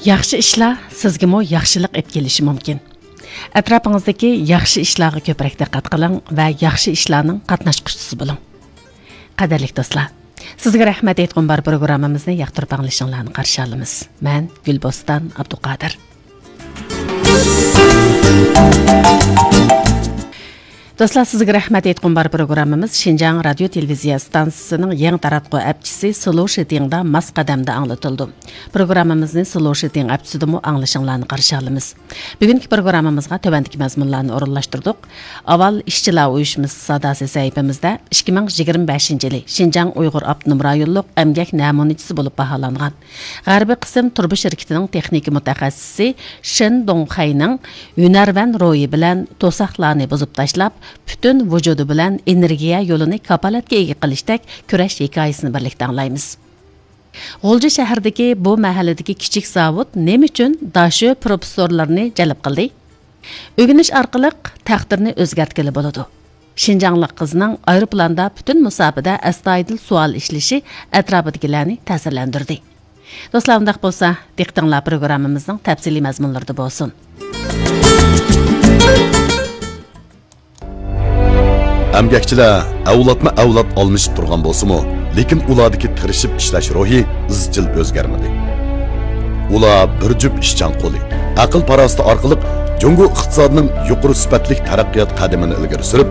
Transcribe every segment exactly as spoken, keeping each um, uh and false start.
ياخشى ئىشلار سىزگىمۇ ياخشىلىق ئېلىپ كېلىشى مۇمكىن. ئەتراپىڭىزدىكى ياخشى ئىشلارغا كۆپرەك دىققەت قىلىڭ ۋە ياخشى ئىشلارنىڭ قاتناشقۇچىسى بولۇڭ. قەدىرلىك دوستلار، سىزگە رەھمەت ئېيتقۇم بار پروگراممىمىزنى ياقتۇرۇپ ئاڭلىشىڭلارنى قارشى ئالىمىز. مەن گۈلبوستان ئابدۇقادىر. دوستلار، سىزگە رەھمەت ئېيتقۇم بار پروگراممىمىز شىنجاڭ رادىيو تېلېۋىزىيە ئىستانسىسىنىڭ يېڭى تاراتقۇ ئەپچىسى سلو شىتىڭدا ماس قەدەمدە ئاڭلىتىلىدۇ. پروگراممىمىزنى سلو شىتىڭ ئەپچىسىدىمۇ ئاڭلىشىڭلارنى قارشى ئالىمىز. بۈگۈنكى پروگراممىمىزغا تۆۋەندىكى مەزمۇنلارنى ئورۇنلاشتۇردۇق. ئاۋۋال ئىشچىلار ئۇيۇشمىسى ساداسى سەھىپىمىزدە ئىككى مىڭ يىگىرمە بەشىنچى يىلى شىنجاڭ ئۇيغۇر ئاپتونوم رايونلۇق ئەمگەك نەمۇنىچىسى بولۇپ باھالانغان غەربىي قىسىم تۇرۇبا شىركىتىنىڭ تېخنىكا مۇتەخەسسىسى شېن دۇڭخەينىڭ ھۈنەرۋەن روھى بىلەن توساقلارنى بۇزۇپ تاشلاپ، پۈتۈن ۋۇجۇدى بىلەن ئېنېرگىيە يولىنى كاپالەتكە ئىگە قىلىشتەك كۈرەش ھېكايىسىنى بىرلىكتە ئاڭلايمىز. غۇلجا شەھىرىدىكى بۇ مەھەللىدىكى كىچىك زاۋۇت نېمە ئۈچۈن داشۆ پروفېسسورلىرىنى جەلپ قىلدى؟ ئۆگىنىش ئارقىلىق تەقدىرنى ئۆزگەرتكىلى بولىدۇ. شىنجاڭلىق قىزنىڭ ئايروپىلاندا پۈتۈن مۇساپىدە ئەستايىدىل سوئال ئىشلىشى ئەتراپىدىكىلەرنى تەسىرلەندۈردى. دوستلار، ئۇنداق بولسا، دىققىتىڭلار پروگراممىمىزنىڭ تەپسىلىي مەزمۇنلىرىدا بولسۇن. ئەمگەكچىلەر ئەۋلادمۇ ئەۋلاد ئالمىشىپ تۇرغان بولسىمۇ، لېكىن ئۇلاردىكى تىرىشىپ ئىشلەش روھى ئىزچىل ئۆزگەرمىدى. ئۇلار بىر جۈپ ئىشچان قولى، ئەقىل-پاراسىتى ئارقىلىق جۇڭگو ئىقتىسادىنىڭ يۇقىرى سۈپەتلىك تەرەققىيات قەدىمىنى ئىلگىرى سۈرۈپ،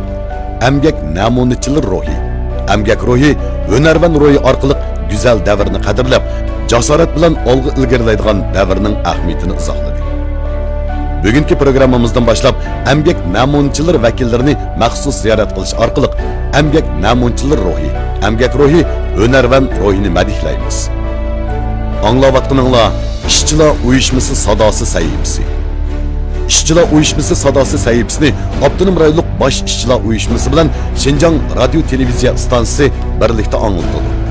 ئەمگەك نەمۇنىچىلىرى روھى، ئەمگەك روھى، ھۈنەرۋەن روھى ئارقىلىق گۈزەل دەۋرنى قەدىرلەپ، جاسارەت بىلەن ئالغا ئىلگىرىلەيدىغان دەۋرنىڭ ئەھمىيىتىنى ئىزاھلىدى. بۈگۈنكى پروگراممىمىزدىن باشلاپ ئەمگەك نەمۇنىچىلىرى ۋەكىللىرىنى مەخسۇس زىيارەت قىلىش ئارقىلىق ئەمگەك نەمۇنىچىلىرى روھى، ئەمگەك روھى، ھۈنەرۋەن روھىنى مەدھىيلەيمىز. ئاڭلاۋاتقىنىڭلار ئىشچىلار ئۇيۇشمىسى ساداسى سەھىپىسى. ئىشچىلار ئۇيۇشمىسى ساداسى سەھىپىسىنى ئاپتونوم رايونلۇق باش ئىشچىلار ئۇيۇشمىسى بىلەن شىنجاڭ رادىيو تېلېۋىزىيە ئىستانسىسى بىرلىكتە ئاڭلىتىدۇ.